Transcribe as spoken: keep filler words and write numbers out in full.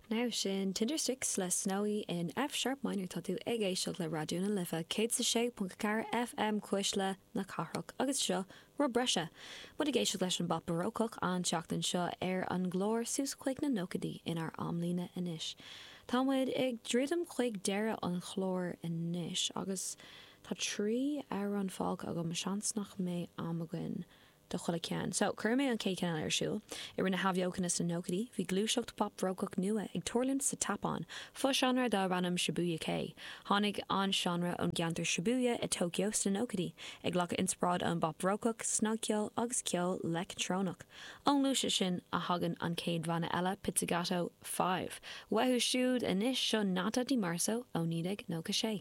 Now sin Tindersticks le Snowy in F sharp minor tá tú ag éisteacht le Raidió na Life céad a sé ponc ceathair FM Cuisle na Cathrach agus seo rud breise. Muid ag éisteacht leis an bpop barócach an tseachtain seo ar an gclár suas chuig na nóchaidí inár amlíne anois. Tá muid ag druidim chuig deireadh an chláir anois agus tá trí amhrán fágtha agam seans nach mbeidh am againn. do chuile cheann. So chuir mé an chéad cheann ar siúl. I rith na hathbheochana sna nóchaidí, bhí gluaiseacht pop barócach nua ag tarlúint sa tSeapáin, fo-seánra darb ainm Shibuya Kei. Tháinig an seánra ón gceantar Shibuya i Tokyo sna nóchaidí, ag glacadh inspioráid ón bpop barócach, snagcheol agus ceol leictreonach. Ón ngluaiseacht sin a thagann an chéad bhanna eile Pizzicato Five. Uathu siúd anois seo Nata Di Marzo ó naoi déag nócha sé.